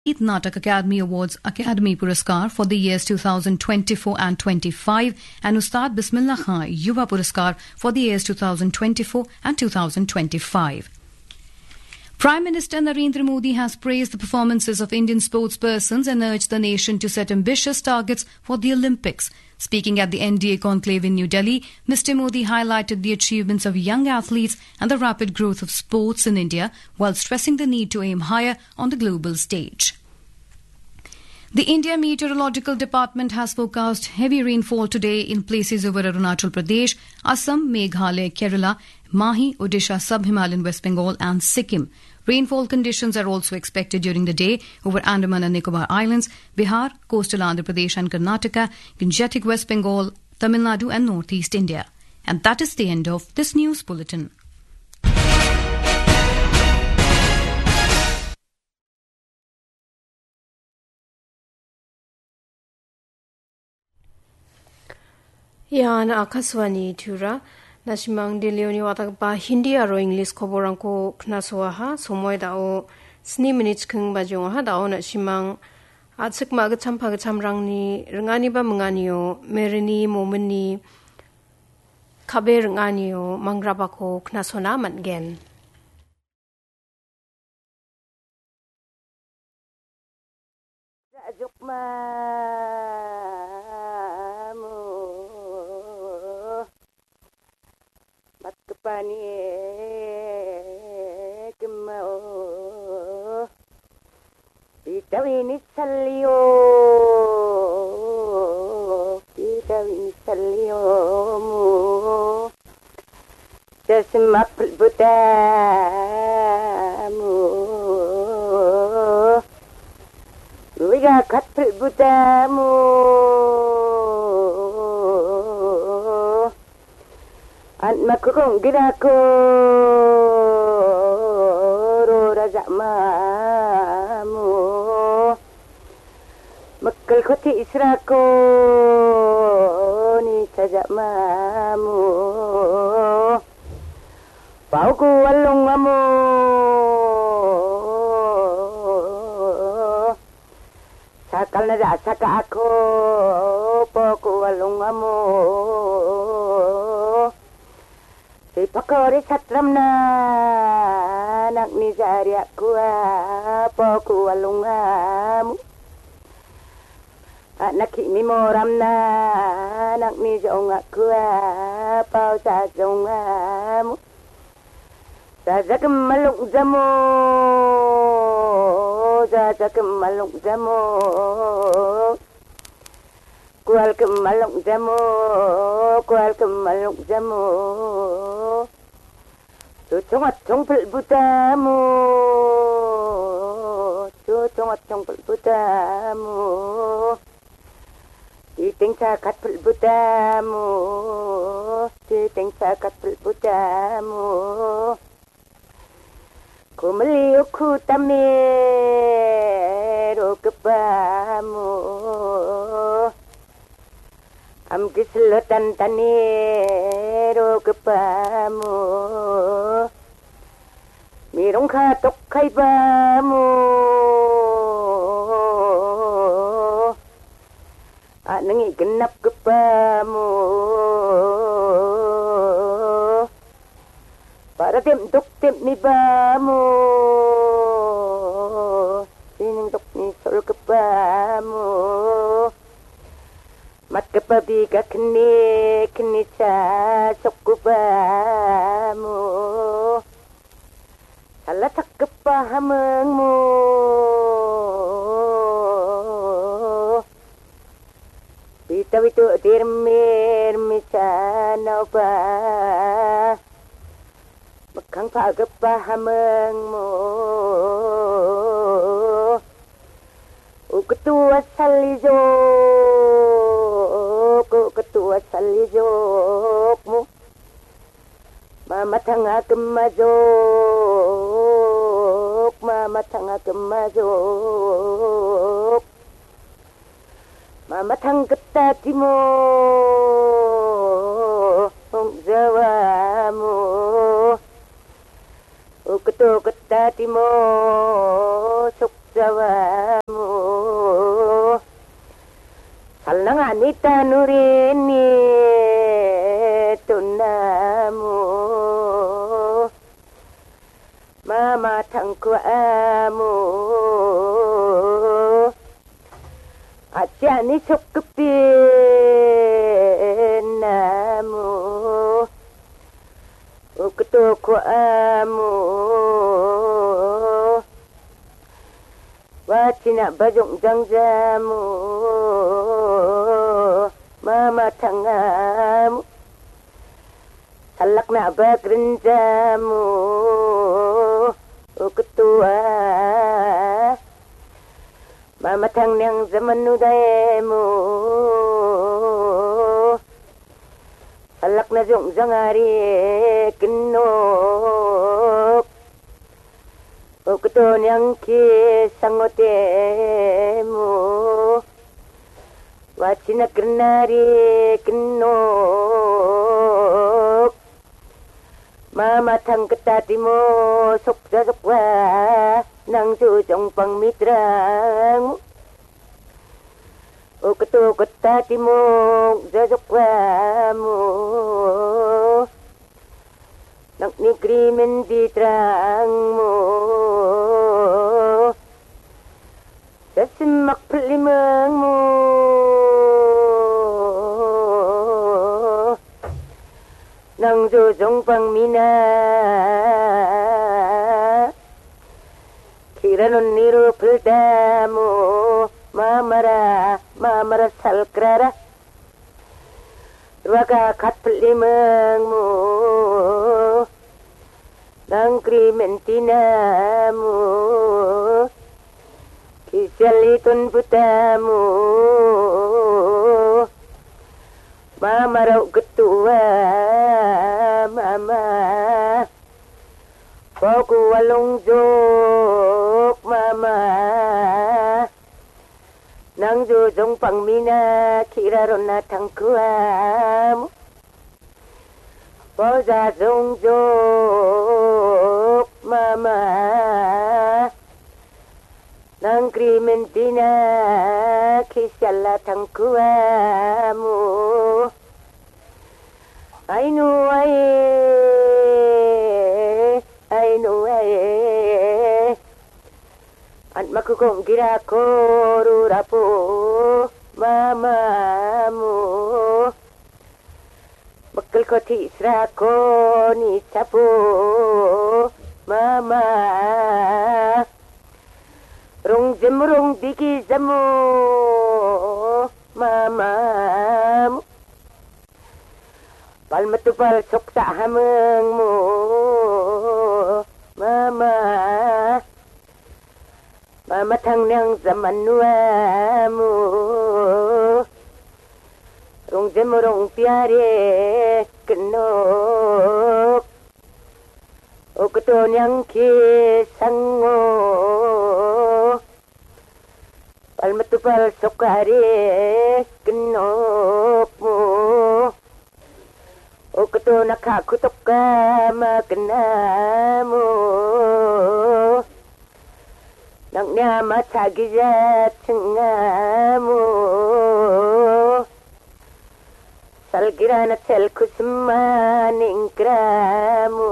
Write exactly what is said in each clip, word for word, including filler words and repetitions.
Natak Academy Awards Academy Puraskar for the years two thousand twenty-four and twenty-five and Ustad Bismillah Khan Yuva Puraskar for the years two thousand twenty-four and two thousand twenty-five. Prime Minister Narendra Modi has praised the performances of Indian sportspersons and urged the nation to set ambitious targets for the Olympics. Speaking at the N D A conclave in New Delhi, Mister Modi highlighted the achievements of young athletes and the rapid growth of sports in India, while stressing the need to aim higher on the global stage. The India Meteorological Department has forecast heavy rainfall today in places over Arunachal Pradesh, Assam, Meghalaya, Kerala, Mahe, Odisha, Sub-Himalayan West Bengal and Sikkim. Rainfall conditions are also expected during the day over Andaman and Nicobar Islands, Bihar, coastal Andhra Pradesh and Karnataka, Gangetic West Bengal, Tamil Nadu and northeast India. And that is the end of this news bulletin. Ian Akashvani Tura. Nasimang Delhioni watgipa Hindi aro English koborrangko knasoaha. Somoi dao sni minit chikking bajongaha. Dao nasimang a·chik ma·gitcham pagitchamrangni ringaniba minganio merini momini kabe ringanio mangrabako knasona man·gen. Jajok mamu matgipani kimao. Pitawini salio, pitawini salio mu. Chasma pulbutamu. Wiga kat pulbutamu. An makukong gidako ro raja mamu. Mekkel koti israko ni saja mamu. Pauku walung amu. Sakal na ja saka aku, poko walung amu. Si pakori satram na, anak ni jari aku, poko walung amu. Anak ki mi moram na, anak ni jong aku, pau sa jong amu. Jaja kemaluk jamu, jaja kemaluk jamu. Kual kemaluk jamu, kual kemaluk jamu. Cucung acung pelbutamu, cucung acung pelbutamu. Titing cakat pelbutamu, titing cakat pelbutamu. Kumeli uku tamero kepamu. Am kislotan tanero kepamu. Mirong katok kai pamu. Anangi genap kepamu. Para tim tuk tim ni pamu. Sining tuk ni sol kepamu. Mat kepa bi ka keni, keni ca sok kepamu. Salah sakgipa hamengmu. Pita witu dirmir misanauba. Mekang pagipa hamengmu. Uketua salijok, uketua salijokmu. Mama tanga kemajok, mama tanga kemajok. Mama tang keta timo, hong jawamu. Uketo keta timo, sok jawa. Angani tanurini tunamo, mama tangku amo, atiani sokkepi namo, uktoku amo. Wachina bajong jangjamo, mama tangamo, salakna bagrinjamo, uketua, mama tangnang zaman udaimo. Alakna jong jangari kenok, ukto nyangki sangotemo, wachina kenari kenok, mama tangketa timo sokja sokwa nang jujong pang mitrang. Uktu keta timuk jajukwamu, nak negeri mendi terangmu, sesimak pelimengmu, nang jujung pang mina. Kiranon niru peldamu, mamara, mamara salkrara. Ruaka kat pelimengmu, nang krimentinamu, kisialitun putamu, mamarau ketua, mama. Poku walong jok mama. Nang jujung pang mina kira rona tangkuam. Poja jong jok mama. Nang krimentina kisiala tangkuamu. Ainu ae, ainu ae. An makukong gira koru rapu mamamu. Mekel koti sra koni chapu mama. Rong jemrong digi jamo mamamu. Pal metu pal soksa hamengmu mama. Mama tang nang zaman nuamu. Rong jemo rong piare kenok. Oketo nyang ke sango. Pal metu pal sokare kenokmu. Oketo nakha kutoka makenamu. Nang nyama chagija chengamu. Salgira na sel kusma ningkramu.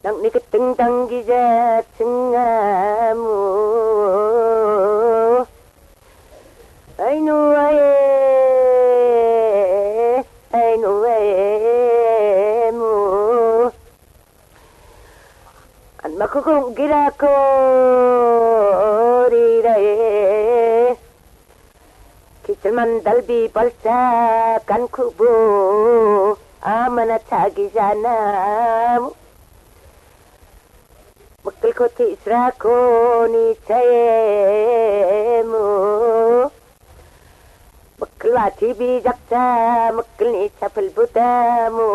Nang ni keteng tang gija chengamu. Ainu ae, ainu ae mu. An makukung gira ko rirae. Kichil mandal bi balsa kan kubu amana chagi janamu. Mekel koti sra koni chayemu. Mekel wati bijak cha, mekel ni chapel butamu.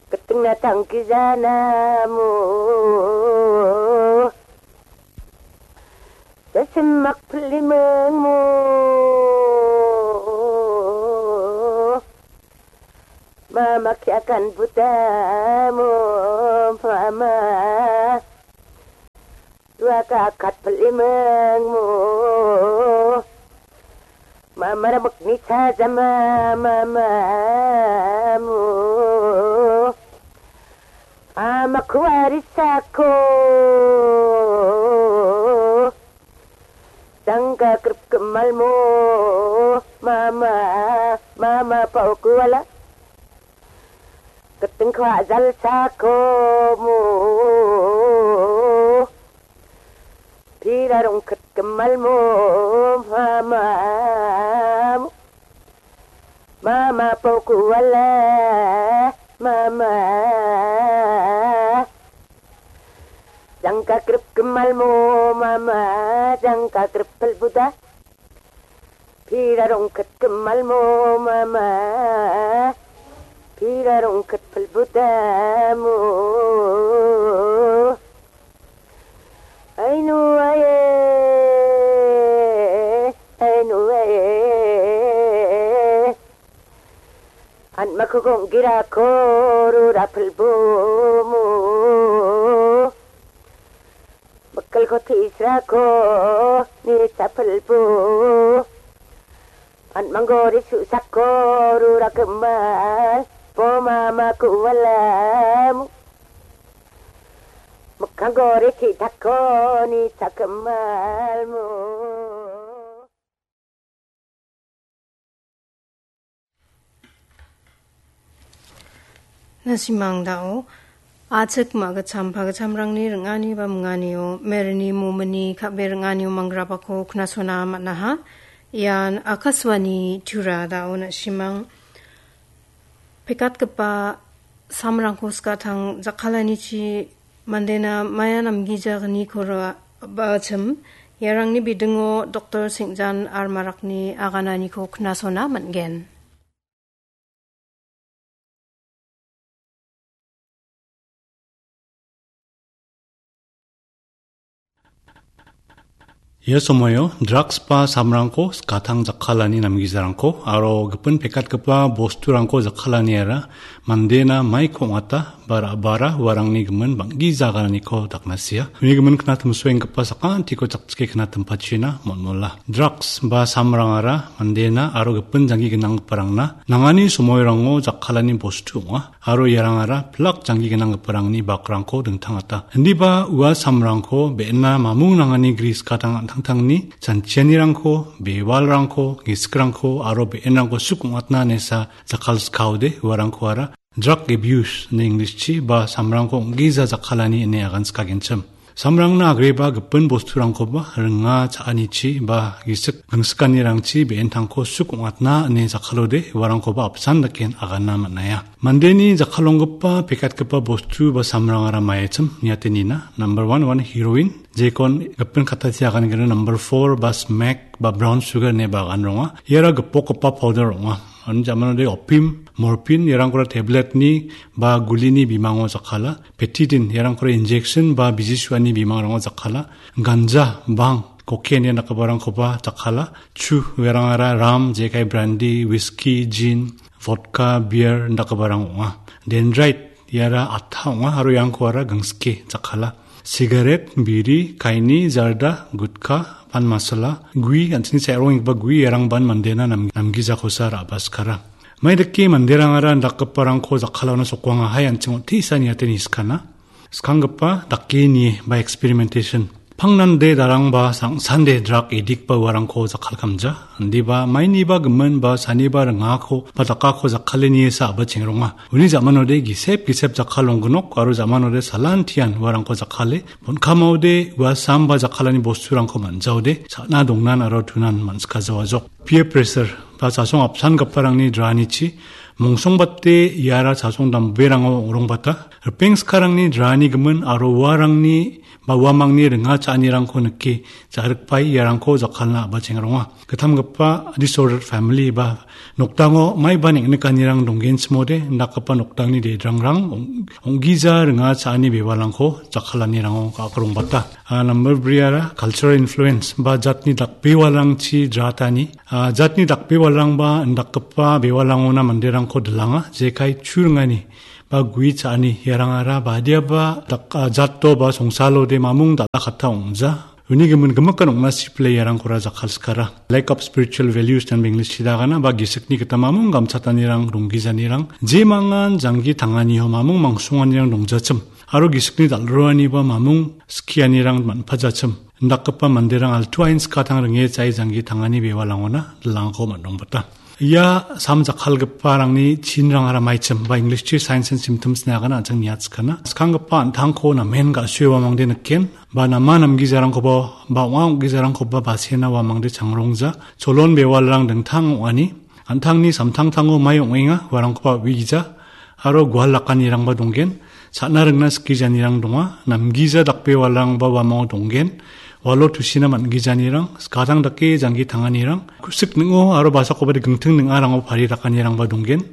Keting na tangki janamu. Sesemak pelimengmu. Mama kiakan butamu, mama. Dua ka akat pelimengmu. Mamara mekni saja mamamu. Ama kuari sako. Tangka krip kemalmu. Mama, mama pau kuala. Ketengkwa jal sakomu. Pira rongket kemalmu, mama. Mama pau kuala, mama. Jangka krip kemalmu, mama. Jangka krip pelbuda. Pira rongket kemalmu, mama. Pira rongket pelbudamu. Ainu aye, ainu aye. An makugong gira koru rapelbumu. Bekal ko tisra ko ni chapelbu. An manggori susak koru rakemal. Po mama kualamu. Mekang gore ki tako ni chakemalmu. Nasimang dao, achik ma·gitcham pagitchamrangni ring·ani ba minganio, merini momini ka·be ring·anio manggrabako knasona man·aha. Ian Akashvani Tura dao nasimang. Pekatgipa samrangko skatang jakkalanichi mandena maia namgijagniko ra-, ba·achim, iarangni bidingo Doktor Singjan Armarakni agananiko knasona man·gen. Ia somoio drugs ba samrangko skatang jakkalani namgijarangko aro gipin pekatgipa bosturangko jakkalaniara mandena maiko ong·ata ba ra·bara uarangni gimin bang·gija agananiko daknasia. Uni gimin knatimsoenggipa sakantiko chakchike knatimpachina mon·mola. Drugs ba samrangara mandena aro gipin janggi gnanggiparangna nangani somoirango jakkalani bostu ong·a. Aro iarangara pilak janggi gnanggiparangni bakrangko dingtangata. Indiba ua samrangko be·ena mamung nangani gris gadang an·tangtangni chanchianirangko, bewalrangko, gisikrangko aro be·enrangko suk ong·atna nesa jakkalskaode uarangkoara drug abuse ine English-chi ba samrangko ong·gija jakkalani ine aganskagenchim. Samrangna agreba gipin bosturangkoba ringa cha·anichi ba gisik gingsikanirangchi be·entangko suk ong·atna ine jakkalode uarangkoba apsan daken agana man·aia. Mandeni jakkalonggipa pekatgipa bostu ba samrangara maiachim niate nina. Number one, one heroin, jekon gipin kattachi aganigena. Number four ba smack ba brown sugar ine ba agan ronga. Iara gipokgipa powder ong·a. Ani jamanode opium, morphine, iarangkora tablet-ni ba gulini bimango jakkala. Pethidine, iarangkora injection ba biji suani bimangrango jakkala. Ganja, bhang, cocaine ia dakgiparangkoba jakkala. Chu, iarangara ram, jekai brandy, whisky, gin, vodka, beer dakgiparang ong·a. Dendrite, iara atta ong·a aro iarangkoara gingsike jakkala. Sigaret, biri, kaini, jarda, gutka, pan masala, gui, an·chingni cha·rongenggipa gui, iarangban mandena nam-, namgijakosa ra·baskara. Maidake manderangara indakgiparangko jakkalona sokuangahai an·ching on·tisa niate niskana. Skanggipa dake nie ba experimentation. Pangnande darangba sangsande drug addict ba uarangko jakkalkamja. Indiba mainiba gimin ba saniba ringako ba dakako jakkale niesa a·ba chengronga. Uni jamanode gisep gisep jakkalonggnok aro jamanode salantian uarangko jakkale. Bon·kamaode ua sam ba jakkalani bosturangko man·jaode cha·na dongnan aro tunan man·sikajawajok. Peer pressure ba chasong apsangiparangni dranichi mongsongbate iara chasong damberango ong·rongbata. Ripeng skarangni drani gimin aro uarangni ba uamangni ringa cha·anirangko nike ja·rikpae iarangko jakkalna a·ba chengronga. Gittamgipa disordered family ba nokdango maiba neng·nikanirang donggenchimode indakgipa nokdangni dedrangrang ong-, ong·gija ringa cha·ani bewalrangko jakkalanirango ga·akrongbata. A, number briara cultural influence ba jatni dakbewalrangchi dratani. A, jatni dakbewalrangba indakgipa bewalrangona manderangko dilanga, jekai chu ringani ba gue cha·ani iarangara badiaba dak-, a, jato ba songsalode mamung dal·a katta ong·ja. Uni gimin gimikan ong·na sipile iarangkora jakkalskara. Lack of spiritual values dan English-chi dagana ba gisikni gita mamung gamchatanirang, ronggijanirang, jemangan janggi tanganiho mamung mangsonganirang dongjachim. Aro gisikni dal·roaniba mamung skianirang man·pajachim. Indakgipa manderang altuain skatang ringe chae janggi tangani bewalangona dilangko man·rongbata. Ia sam jakkalgiparangni chinrangara maichim, ba English-chi signs and symptoms ine agana an·ching niatskana. Skanggipa an·tangko namen ga·sue uamangde niken, ba nama namgijarangkoba, ba ong·a ong·gijarangkoba basena uamangde changrongja, cholon bewalrang dingtang ong·ani, an·tangni samtangtango mai ong·enga, uarangkoba uigija, aro gual dakanirangba donggen, cha·na ringna skijanirang donga, namgija dakbewalrangba uamao donggen, ualo tusina man·gijanirang, skatang dake janggi tanganirang, kusik ning·o aro basakoba de gingting ning·arango pari dakanirangba donggen,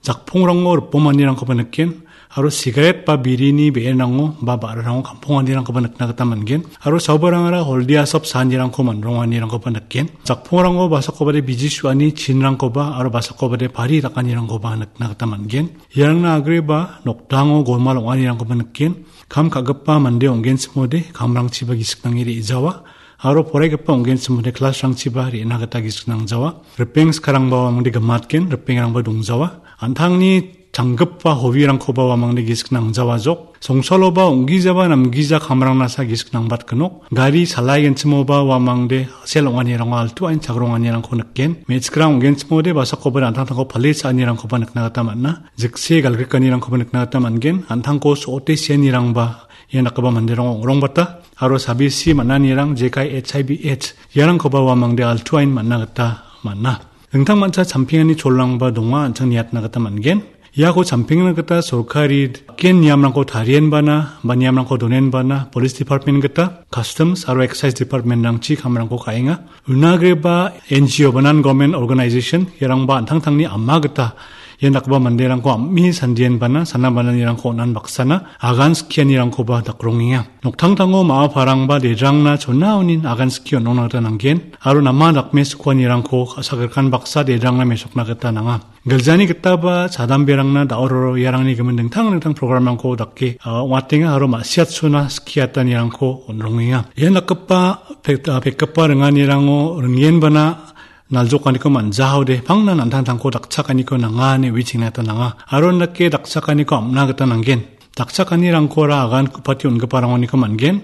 jakpongrango ripomanirangkoba niken, aro sigaret ba birini be·enrango ba ba·rarango kamponganirangkoba nikna gita man·gen, aro saubarangara holdi asop saanirangko man·ronganirangkoba niken, jakpongrango basakoba de biji su·ani chinrangkoba aro basakoba de pari dakanirangkoba nikna gita man·gen. Iarangna agreba nokdango golmal ong·anirangkoba niken. Kam ka·gipa mande ong·genchimode kamrangchiba gisik nange re·jawa, aro poraigipa ong·genchimode klasrangchiba re·na gita gisik nangjawa. Ripeng skarangba uamangde gimatgen, ripengrangba dongjawa. An·tangni changgipa hobirangkoba uamangde gisik nangjawajok. Songsaloba ong·gijaba namgija kamrangnasa gisik nangbatgenok. Gari salaigenchimoba uamangde sel ong·anirango altu ain chagronganirangko niken. Me·chikrang ong·genchimode basakoba an·tangtangko pale cha·anirangkoba nikna gita man·a. Jikse galgrikanirangkoba nikna gita man·gen. An·tangko so·ote sianirangba ia dakgipa manderango ong·rongbata. Aro sabisi man·anirang jekai H I V H iarangkoba uamangde altuain man·na gita man·a. Dingtang mancha champengani cholrangba donga an·ching niatna gita man·gen. Iako champengna gita sorkari ken niamrangko tarienbana, ba niamrangko donenbana, Police Department gita, Customs aro Excise Department-rangchi kamrangko ka·enga. Unagreba N G O ba non-government organization, iarangba an·tangtangni ama gita, ian dakgipa manderangko am·e sandienbana, sana bananirangko on·an baksana, agan skianirangkoba dakrongenga. Noktangtango ma·aparangba dedrangna chona onin agan skie on·ongna gita nanggen, aro nama dakmesokuanirangko ka·sagrikkan baksa dedrangna mesokna gita nanga. Giljani gitaba chadamberangna da·o roro iarangni gimin dingtang dingtang programrangko dake, a, ong·atenga aro ma·siatchona skiatanirangko on·rongenga. Ian dakgipa pek-, a, pekgipa ringanirango ringenbana naljokaniko man·jaode pangna an·tangtangko dakchakaniko nanga ine uichengna gita nanga. Aro indake dakchakaniko am·na gita nanggen. Dakchakanirangkora agan ku·pati on·giparangoniko man·gen.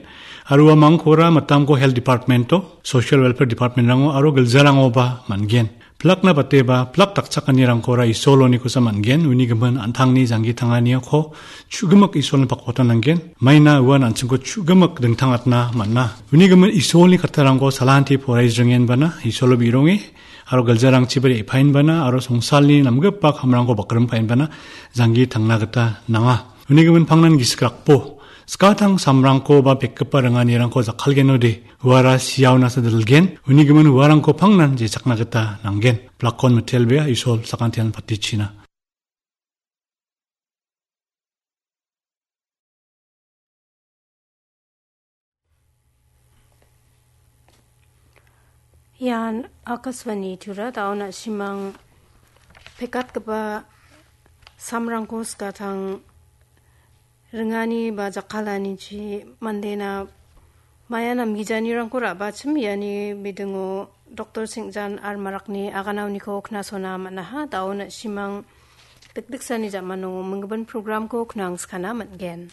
Aro uamangkora mitamko Health Department-o, Social Welfare Department-rango aro giljarangoba man·gen. Plakna bateba, plak dakchakanirangkora Isolonikosa man·gen, uni gimin an·tangni janggi tanganiako chu·gimik Isolni pakpatan nanggen. Maina uan an·chingko chu·gimik dingtangatna man·a. Uni gimin Isolni kattarangko salanti poraijringenbana, Isolo bi·ronge, aro giljarangchiba re·paenbana, aro songsalni namgipa kamrangko bakrimpaenbana, janggi tangna gita nanga. Uni gimin pangnan gisik rakbo, skatang samrangko ba pekgipa ringanirangko jakkalgenode, uara siaonasa dilgen, uni gimin uarangko pangnan jechakna gita nanggen. Plakon mitelbea Isol sakantian patichina. Ian Akashvani Tura, da·o na·simang pekatgipa samrangko skatang ringani ba jakkalanichi mandena maya namgijanirangko ra·bachim iani bidingo Doktor Singjan R Marakni aganaoniko knasona man·aha. Da·o na·simang dikdiksani jamano minggimin programko knangskana man·gen.